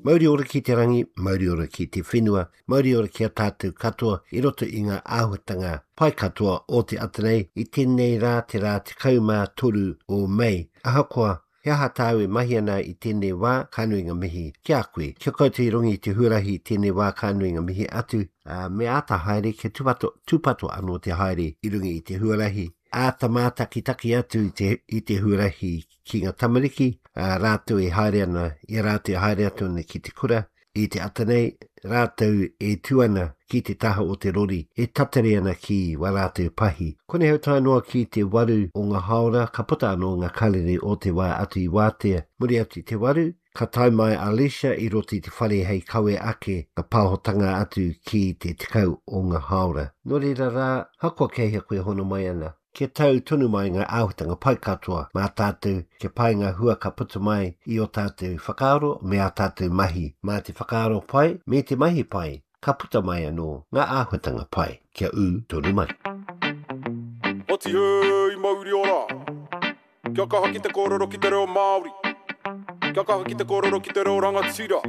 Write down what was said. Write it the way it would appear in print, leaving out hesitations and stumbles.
Mauri ora ki te rangi, mauri ora ki te whenua, mauri ora ki a tātou katoa i roto i ngā āhuatanga pai katoa o te ata nei i tēnei rā te rā 13 o Mei. Ahakoa he aha tāu e mahi ana i tēnei wā, ka nui ngā mihi ki a koe. Kia koutou i runga i te huarahi i tēnei wā ka nui ngā mihi atu, ā, me āta haere kia tūpato, tūpato anō te haere i runga i te huarahi. Āta mātakitaki atu i te, i te huarahi ki ngā tamariki, ā, rātou e haere ana, i a rātou e haere atu ana ki te kura, i te ata nei, rātou e tū ana ki te taha o te rori, e tatari ana ki wā rātou pahi. Konei hau tae noa ki te waru o ngā hāora, ka puta anō ngā karere o te wā atu i wātea. Muri atu i te waru, ka tae mai a Alicia i roto i te whare hei kawe ake ka pāhotanga atu ki te 10 o ngā hāora. Nō reira rā, hakoa kei hea koe hono mai ana, Kia tau tonu mai ngā āhuatanga pai katoa mā tātou, kia pai ngā hua ka puta mai i ō tātou whakaaro me ā tātou mahi. Mā te whakaaro pai me te mahi pai, ka puta mai anō ngā āhuatanga pai kia ū tonu mai. Oti hei mauri ora! Kia kaha ki te kōrero ki te reo Māori. Kia kaha ki te kōrero ki te reo rangatira.